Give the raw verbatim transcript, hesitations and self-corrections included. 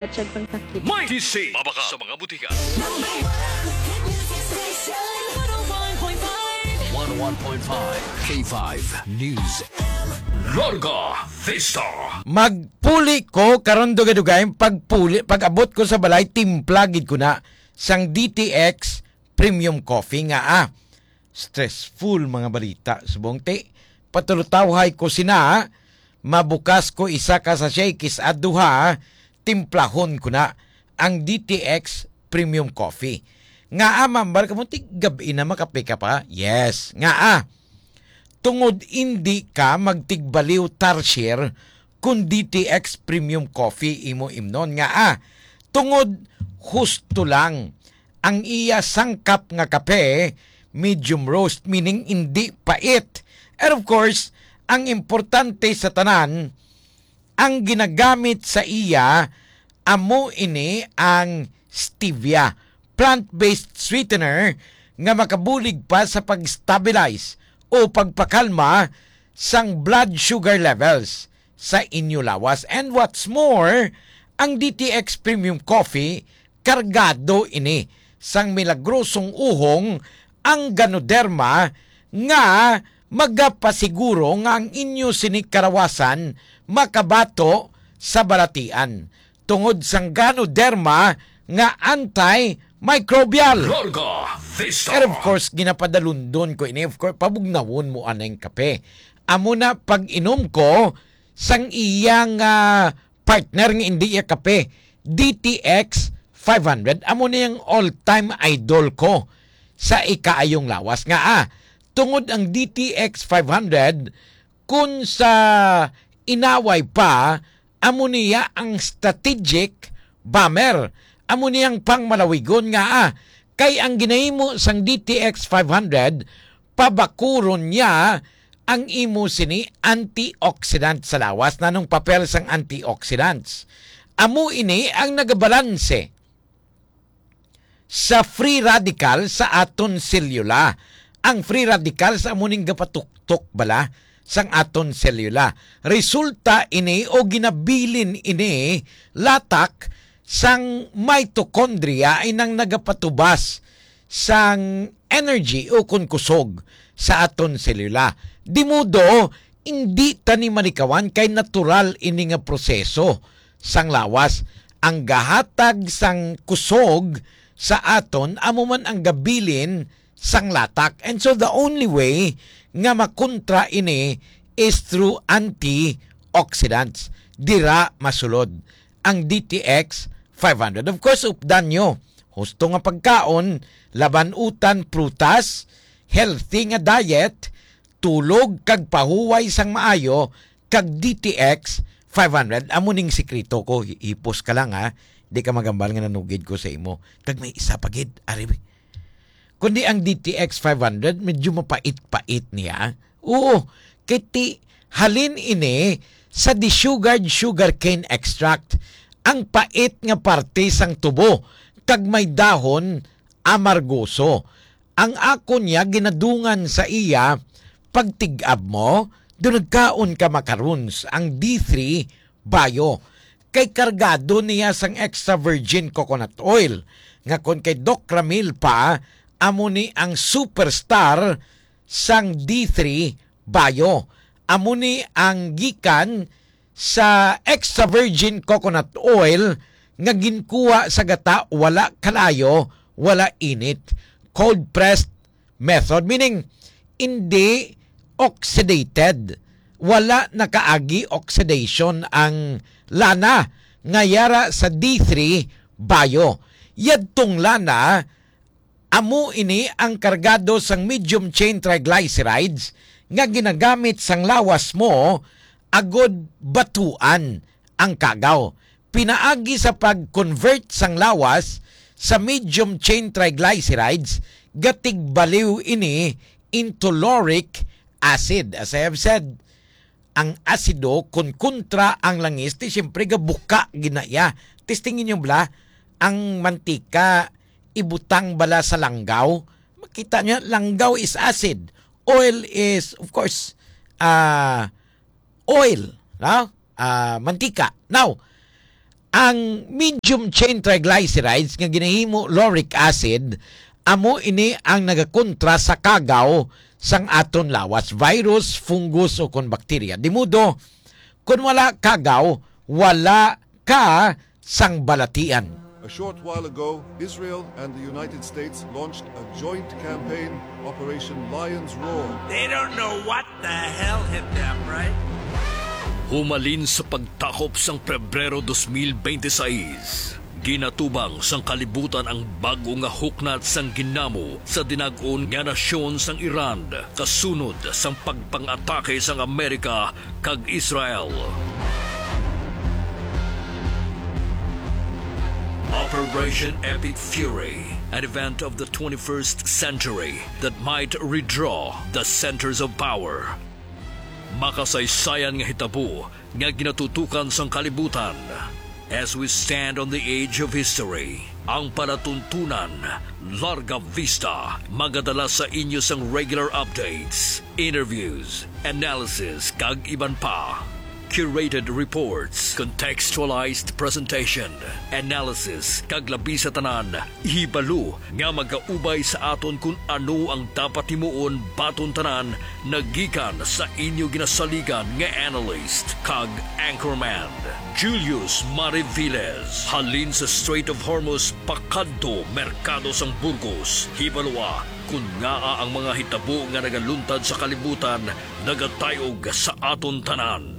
May T C, mabaka sa mga butika. Number one hit music station, one oh one point five. One oh one point five K five News. Larga Vista. Magpuli ko karon, dugay-dugay, pagpuli, pag-abot ko sa balay, timpla gid ko na sang D T X Premium Coffee nga, ah, stressful mga balita. Subong ti, patulutawhay ko sina, mabukas ko isa ka sachet, kis-a duha, timplahon ko na ang D T X Premium Coffee. Nga, ah, ma'am, bar ka mo, ti gab-i na makape ka pa? Yes. Nga, ah, tungod indi ka magtigbaliw tarsier kun D T X Premium Coffee imo imnon. Nga, ah, tungod husto lang ang iya sangkap nga kape, medium roast, meaning indi pait. And of course, ang importante sa tanan, ang ginagamit sa iya, amo ini ang stevia, plant-based sweetener nga makabulig pa sa pag-stabilize o pagpakalma sang blood sugar levels sa inyo lawas. And what's more, ang D T X Premium Coffee, kargado ini sang milagrosong uhong ang Ganoderma nga magapasiguro nga ang inyo sini karawasan makabato sa balatian tungod sang Ganoderma nga antimicrobial. Larga Vista. And of course, ginapadalundon ko ini. Of course, pabugnawon mo anay ang kape. Amo na pag-inom ko sang iyang, ah, partner nga indi iya kape, D T X five hundred. Amo na yung all-time idol ko sa ikaayong lawas nga, ah, tungod ang D T X five hundred, kun sa inaway pa, amo niya ang strategic bomber. Amo niyang pangmalawigon nga, ah, kay ang ginahimo sang D T X five hundred, pabakuron niya ang imo sini antioxidant sa lawas. Nanong papel sang antioxidants? Amo ini ang nagabalanse sa free radical sa aton selula. Ang free radicals amo ning gapatuktok bala sang aton selula. Resulta ini o ginabilin ini latak sang mitochondria, ay nang nagapatubas sang energy o kon kusog sa aton selula. Di modo, indi ta ni malikawan kay natural ini nga proseso sang lawas. Ang gahatag sang kusog sa aton amo man ang gabilin sang latak. And so the only way nga makontra ini is through antioxidants. Dira masulod ang D T X five hundred. Of course, updan nyo. Husto nga pagkaon, laban-utan, prutas, healthy nga diet, tulog kag pahuway sang maayo, kag D T X five hundred. Amo ning sikreto ko, hi-, hipos ka lang, ha. Di ka magambal nga nanugid ko sa imo. Kag may isa pa gid, ari. Kundi ang D T X five hundred, medyo mapait-pait niya. Oo, kay ti-, halin ini sa desugared sugarcane extract. Ang pait nga parte sang tubo, kag may dahon amargoso. Ang akon niya ginadungan sa iya pagtig-ab mo, do nagkaon ka makarons ang D three Bio. Kay kargado niya sang extra virgin coconut oil, nga kon kay Doc Ramil pa, amo ni ang superstar sang D three Bio. Amo ni ang gikan sa extra virgin coconut oil nga ginkuha sa gata, wala kalayo, wala init. Cold pressed method, meaning hindi oxidated, wala nakaagi oxidation ang lana nga yara sa D three Bio. Yadtong lana, amo ini ang kargado sang medium chain triglycerides nga ginagamit sang lawas mo agod batuan ang kagaw. Pinaagi sa pag-convert sang lawas sa medium chain triglycerides, gatigbaliw ini into lauric acid. As I have said, ang asido, kun kontra ang langis, ti siyempre gabuka ginaya. Testingin niyo bala, ang mantika ibutang bala sa langgaw. Makita niyo, langgaw is acid. Oil is, of course, ah, oil, no? Ah, mantika. Now, Ang medium chain triglycerides nga ginahimo lauric acid, amo ini ang nagakontra sa kagaw sang aton lawas, virus, fungus, o kon bakterya. Di modo, kon wala kagaw, wala ka sang balatian. A short while ago, Israel and the United States launched a joint campaign, Operation Lion's Roar. They don't know what the hell hit them, right? Humalin sa pagtakop sang Pebrero dos mil bente seis, ginatubang sang kalibutan ang bag-o nga huknat sang ginamo sa dinag-on nga nasyon sang Iran kasunod sang pagpang-atake sang Amerika kag Israel. Operation Epic Fury, an event of the twenty-first century that might redraw the centers of power. Makasaysayan nga hitabo nga ginatutukan sang kalibutan. As we stand on the edge of history, ang palatuntunan, Larga Vista, magadala sa inyo sang regular updates, interviews, analysis, kag iban pa. Curated reports, contextualized presentation, analysis, kag labi sa tanan, hibalo nga magaubay sa aton kon ano ang dapat himuon baton tanan, nagikan sa inyo ginasaligan nga analyst kag anchorman, Julius Mariviles. Halin sa Strait of Hormuz pakadto Merkado sang Burgos, hibaloa kon ngaa ang mga hitabo nga nagaluntad sa kalibutan nagatayog sa aton tanan.